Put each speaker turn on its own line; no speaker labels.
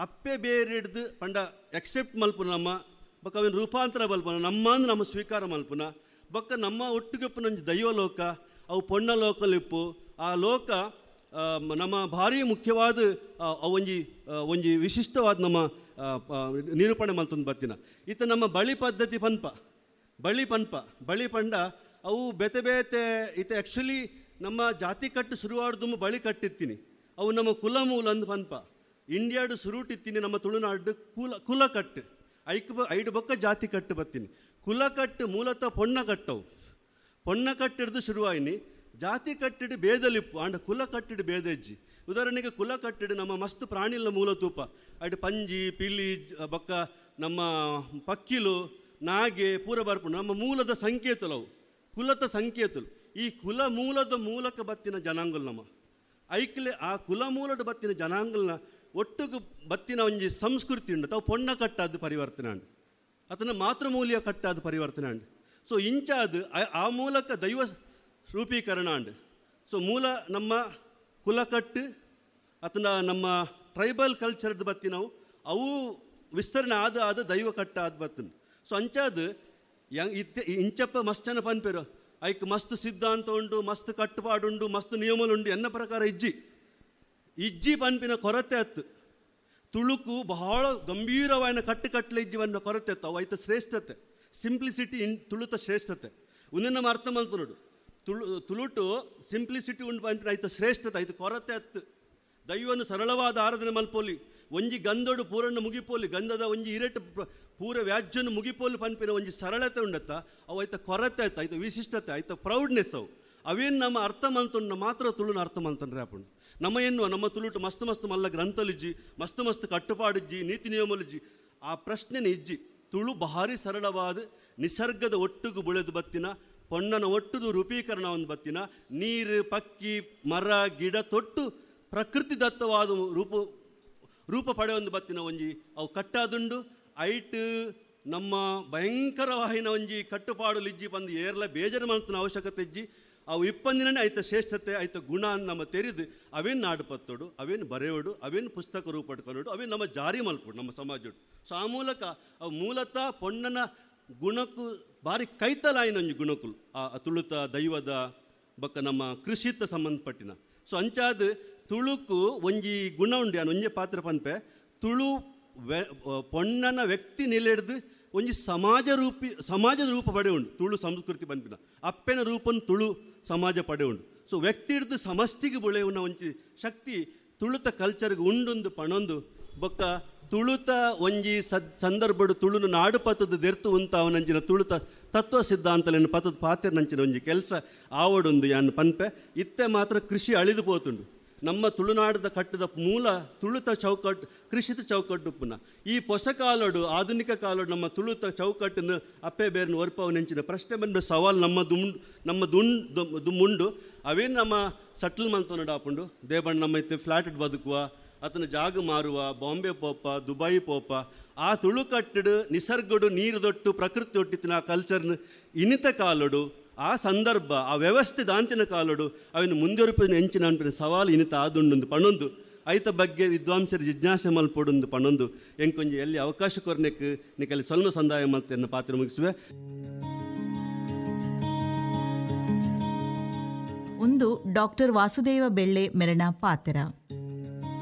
ಅಪ್ಪೆ ಬೇರೆಡ್ದು ಪಂಡ ಎಕ್ಸೆಪ್ಟ್ ಮಲ್ಪುನ ನಮ್ಮ ಬೊಕ್ಕ ಅವಿನ ರೂಪಾಂತರ ಮಲ್ಪುನ ನಮ್ಮಂದು ನಮ್ಮ ಸ್ವೀಕಾರ ಮಲ್ಪುನ ಬೊಕ್ಕ ನಮ್ಮ ಒಟ್ಟಿಗೆ ಒಂಜಿ ದೈವ ಲೋಕ ಅವು ಪೊಣ್ಣ ಲೋಕಲಿಪ್ಪು ಆ ಲೋಕ ನಮ್ಮ ಭಾರಿ ಮುಖ್ಯವಾದ ಒಂಜಿ ಒಂಜಿ ವಿಶಿಷ್ಟವಾದ ನಮ್ಮ ನಿರೂಪಣೆ ಮಲ್ತೊಂದು ಬತ್ತಿನ. ಇತ್ತ ನಮ್ಮ ಬಳಿ ಪದ್ಧತಿ ಪನ್ಪ ಬಳಿ ಪನ್ಪ ಬಳಿ ಪಂಡ ಅವು ಬೇತೆ ಬೇತೆ ಇತ್ತ ಆ್ಯಕ್ಚುಲಿ ನಮ್ಮ ಜಾತಿ ಕಟ್ಟು ಶುರುವಾಡ್ದು ಬಳಿ ಕಟ್ಟಿತ್ತೀನಿ ಅವು ನಮ್ಮ ಕುಲ ಮೂಲ ಅಂದು ಪನ್ಪ. ಇಂಡಿಯಾಡು ಸುರುಟಿತ್ತೀನಿ ನಮ್ಮ ತುಳುನಾಡು ಕುಲ ಕುಲ ಕಟ್ಟು ಐಕ್ ಐಡು ಬೊಕ್ಕ ಜಾತಿ ಕಟ್ಟು ಬತ್ತೀನಿ. ಕುಲ ಕಟ್ಟು ಮೂಲತಃ ಪೊಣ್ಣ ಕಟ್ಟವು ಪೊಣ್ಣ ಕಟ್ಟಿಡ್ದು ಶುರುವಾಯಿನಿ. ಜಾತಿ ಕಟ್ಟಿಡು ಬೇದಲಿಪ್ಪು ಆಂಡ ಕುಲ ಕಟ್ಟಿಡು ಬೇದೆಜ್ಜಿ. ಉದಾಹರಣೆಗೆ ಕುಲ ಕಟ್ಟಿಡು ನಮ್ಮ ಮಸ್ತ್ ಪ್ರಾಣಿಲ ಮೂಲ ತೂಪ ಅಡ್ ಪಂಜಿ ಪಿಲಿ ಬೊಕ್ಕ ನಮ್ಮ ಪಕ್ಕಿಲು ನಾಗೆ ಪೂರ ಬರ್ಪುಂಡು ನಮ್ಮ ಮೂಲದ ಸಂಕೇತಲವು ಕುಲದ ಸಂಕೇತಲು. ಈ ಕುಲ ಮೂಲದ ಮೂಲಕ ಬತ್ತಿನ ಜನಾಂಗಲ್ ನಮ್ಮ ಐಕ್ಲೆ ಆ ಕುಲ ಮೂಲದ ಬತ್ತಿನ ಜನಾಂಗಲ್ನ ಒಟ್ಟುಗು ಬತ್ತಿನ ಒಂಜಿ ಸಂಸ್ಕೃತಿ ಉಂಡು ತಾವು ಪೊಣ್ಣ ಕಟ್ಟಾದ ಪರಿವರ್ತನೆ ಅಂಡು ಅದನ್ನ ಮಾತೃಮೂಲ್ಯ ಕಟ್ಟಾದ ಪರಿವರ್ತನೆ ಅಂಡು. ಸೊ ಇಂಚಾದ ಆ ಮೂಲಕ ದೈವ ರೂಪೀಕರಣ ಅಂಡು. ಸೊ ಮೂಲ ನಮ್ಮ ಕುಲಕಟ್ಟು ಅದನ್ನ ನಮ್ಮ ಟ್ರೈಬಲ್ ಕಲ್ಚರ್ದು ಬತ್ತಿನವು ಅವು ವಿಸ್ತರಣೆ ಆದ ಆದ ದೈವ ಕಟ್ಟಾದ ಬತ್ತಿನ. ಸೊ ಅಂಚಾದ ಇಂಚಪ್ಪ ಮಸ್ತ್ ಜನ ಪನ್ಪೇರು ಐಕ್ ಮಸ್ತ್ ಸಿದ್ಧಾಂತ ಉಂಡು ಮಸ್ತ್ ಕಟ್ಟುಪಾಡುಂಡು ಮಸ್ತ್ ನಿಯಮలుಂಡು ಎನ್ನ ಪ್ರಕಾರ ಇಜ್ಜಿ ಇಜ್ಜಿ ಪನ್ಪಿನ ಕೊರತೆ ಅತ್ತು. ತುಳುಕು ಬಹಳ ಗಂಭೀರವಾದ ಕಟ್ಟುಕಟ್ಟಲೆ ಇಜ್ಜಿ ಪನ್ಪಿನ ಕೊರತೆ ಅತ್ತು ಅವು ಐತ ಶ್ರೇಷ್ಠತೆ ಸಿಂಪ್ಲಿಸಿಟಿ ಇನ್ ತುಳುತ ಶ್ರೇಷ್ಠತೆ ಒಂದನ್ನ ನಮ್ಮ ಅರ್ಥ ಮಲ್ತುನುಡು ತುಳುಟು ಸಿಂಪ್ಲಿಸಿಟಿ ಉಂಡು ಪನ್ಪಿನ ಐತ ಶ್ರೇಷ್ಠತೆ ಐತ ಕೊರತೆ ಅತ್ತು. ದೈವನು ಸರಳವಾದ ಆರಾಧನೆ ಮಲ್ಪೋಲಿ ಒಂಜಿ ಗಂಧಡು ಪೂರನ್ನು ಮುಗಿಪೋಲಿ ಗಂಧದ ಒಂಜಿ ಇರೆಟ್ ಪೂರ ವ್ಯಾಜ್ಯನು ಮುಗಿಪೋಲಿ ಪನ್ಪಿನ ಒಂಜಿ ಸರಳತೆ ಉಂಡತ್ತ ಅವು ಐತ ಕೊರತೆ ಆಯ್ತು ಐತ ವಿಶಿಷ್ಟತೆ ಐತ ಪ್ರೌಡ್ನೆಸ್ ಅವು ಅವೇನು ನಮ್ಮ ಅರ್ಥ ಮಲ್ತುಂಡ ಮಾತ್ರ ತುಳುನ ಅರ್ಥ ಮಲ್ತಂಡ್ರೆ ಆಪುಂಡು. ನಮ್ಮ ಎನ್ನುವ ನಮ್ಮ ತುಳುಟು ಮಸ್ತ್ ಮಸ್ತ್ ಮಲ್ಲ ಗ್ರಂಥಲಿಜ್ಜಿ ಮಸ್ತ್ ಮಸ್ತ್ ಕಟ್ಟುಪಾಡಿಜ್ಜಿ ನೀತಿ ನಿಯಮಲಿಜ್ಜಿ ಆ ಪ್ರಶ್ನೆನೇ ಇಜ್ಜಿ. ತುಳು ಭಾರಿ ಸರಳವಾದ ನಿಸರ್ಗದ ಒಟ್ಟುಗು ಬುಳೆದು ಬತ್ತಿನ ಪೊಣ್ಣನ ಒಟ್ಟುದು ರೂಪೀಕರಣ ಒಂದು ಬತ್ತಿನ ನೀರು ಪಕ್ಕಿ ಮರ ಗಿಡ ತೊಟ್ಟು ಪ್ರಕೃತಿ ದತ್ತವಾದ ರೂಪ ರೂಪ ಪಡೆಯೊಂದು ಬತ್ತಿನ ಒಂಜಿ ಅವು ಕಟ್ಟಾದುಂಡು. ಐಟ್ ನಮ್ಮ ಭಯಂಕರವಾಹಿನ ಒಂಜಿ ಕಟ್ಟುಪಾಡು ಲಿಜ್ಜಿ ಬಂದು ಏರ್ಲ ಬೇಜಾರು ಮಾಡ್ತನ ಅವಶ್ಯಕತೆ ಇಜ್ಜಿ. ಅವು ಇಪ್ಪಂದಿನೇ ಐತ ಶ್ರೇಷ್ಠತೆ ಐತ ಗುಣ ಅಂತ ನಮ್ಮ ತೆರೆದು ಅವೇನು ನಾಡುಪತ್ತೋಡು ಅವೇನು ಬರೆಯೋಡು ಅವೇನು ಪುಸ್ತಕ ರೂಪಡ್ಕೊಳೋಡು ಅವೇನು ನಮ್ಮ ಜಾರಿ ಮಲ್ಪೋಡು ನಮ್ಮ ಸಮಾಜೋಡು. ಸೊ ಆ ಮೂಲಕ ಅವು ಮೂಲತಃ ಪೊಣ್ಣನ ಗುಣಕ್ಕೂ ಭಾರಿ ಕೈತಲಾಯಿನ ಒಂಜಿ ಗುಣಕ್ಕುಲು ಆ ತುಳುತ ದೈವದ ಬೊಕ್ಕ ನಮ್ಮ ಕೃಷಿತ ಸಂಬಂಧಪಟ್ಟಿನ. ಸೊ ಅಂಚಾದ ತುಳುಕು ಒಂಜಿ ಗುಣ ಉಂಡು ಯಾನ್ ಒಂಜಿ ಪಾತ್ರ ಪನ್ಪೆ ತುಳು ಪೊಣ್ಣನ ವ್ಯಕ್ತಿ ನಿಲೆಡ್ದು ಒಂಜಿ ಸಮಾಜ ರೂಪಿ ಸಮಾಜದ ರೂಪ ಪಡೆ ಉಂಡು ತುಳು ಸಂಸ್ಕೃತಿ ಪನ್ಪಿನ ಅಪ್ಪೆನ ರೂಪನ್ ತುಳು ಸಮಾಜ ಪಡೆ ಉಂಡು. ಸೊ ವ್ಯಕ್ತಿ ಹಿಡ್ದು ಸಮಷ್ಟಿಗೆ ಬುಳೆಯುವ ಒಂಜಿ ಶಕ್ತಿ ತುಳುತ ಕಲ್ಚರ್ಗೆ ಉಂಡೊಂದು ಪಣೊಂದು ಬೊಕ್ಕ ತುಳುತ ಒಂಜಿ ಸಂದರ್ಭಡು ತುಳುನು ನಾಡು ಪತ್ತದ ದೆರ್ತು ಉಂತ ಅವನಂಚಿನ ತುಳುತ ತತ್ವ ಸಿದ್ಧಾಂತಲೇನು ಪತ್ತದ ಪಾತೆರ್ನಂಚಿನ ಒಂಜಿ ಕೆಲಸ ಆವಡೊಂದು ಯಾನ್ ಪನ್ಪೆ. ಇತ್ತೆ ಮಾತ್ರ ಕೃಷಿ ಅಳಿದು ಪೋತುಂಡು ನಮ್ಮ ತುಳುನಾಡದ ಕಟ್ಟದ ಮೂಲ ತುಳುತ ಚೌಕಟ್ಟು ಕೃಷಿತ ಚೌಕಟ್ಟು ಪುನಃ ಈ ಹೊಸ ಕಾಲೋಡು ಆಧುನಿಕ ಕಾಲೋಡು ನಮ್ಮ ತುಳುತ ಚೌಕಟ್ಟನ್ನು ಅಪ್ಪೆ ಬೇರನ್ನು ಒರ್ಪವನೆಂಚಿನ ಪ್ರಶ್ನೆ ಬಂದ ಸವಾಲು ನಮ್ಮ ದುಂಡು ಅವೇನು ನಮ್ಮ ಸಟ್ಲ್ ಮಂತನಡು ಆಪುಂಡು ದೇಬಣ್ಣ ನಮ್ಮ ಇತ್ತೆ ಫ್ಲಾಟ್ ಬದುಕುವ ಆತನ ಜಾಗ ಮಾರುವ ಬಾಂಬೆ ಪೋಪ ದುಬೈ ಪೋಪ ಆ ತುಳುಕಟ್ಟಡು ನಿಸರ್ಗಡು ನೀರು ದೊಟ್ಟು ಪ್ರಕೃತಿ ಒಟ್ಟಿತ್ತಿನ ಆ ಕಲ್ಚರ್ನ ಇನಿತ ಕಾಲೋಡು ಆ ಸಂದರ್ಭ ಆ ವ್ಯವಸ್ಥೆ ದಾಂತಿನ ಕಾಲೋಡು ಅವಿನ ಮುಂದುವರಿಪಿನ ಎಂಚಿನ ಅನ್ಪಿನ ಸವಾಲು ಇನಿತ ಆದುಂಡೊಂದು ಪಣೊಂದು ಐತ ಬಗ್ಗೆ ವಿದ್ವಾಂಸರು ಜಿಜ್ಞಾಸೆ ಮಲ್ಪೊಡೊಂದು ಪಣೊಂದು ಎಂಕೊಂಜಿ ಎಲ್ಲಿ ಅವಕಾಶ ಕೊರ್ನೆಕ್ ನಿಕಲ್ಲಿ ಸ್ವಲ್ಪ ಸಂದಾಯ ಮಲ್ತೆನ್ನ ಪಾತ್ರ ಮುಗಿಸುವೆ.
ಒಂದು ಡಾಕ್ಟರ್ ವಾಸುದೇವ ಬೆಳ್ಳೆ ಮೆರಣ ಪಾತ್ರ.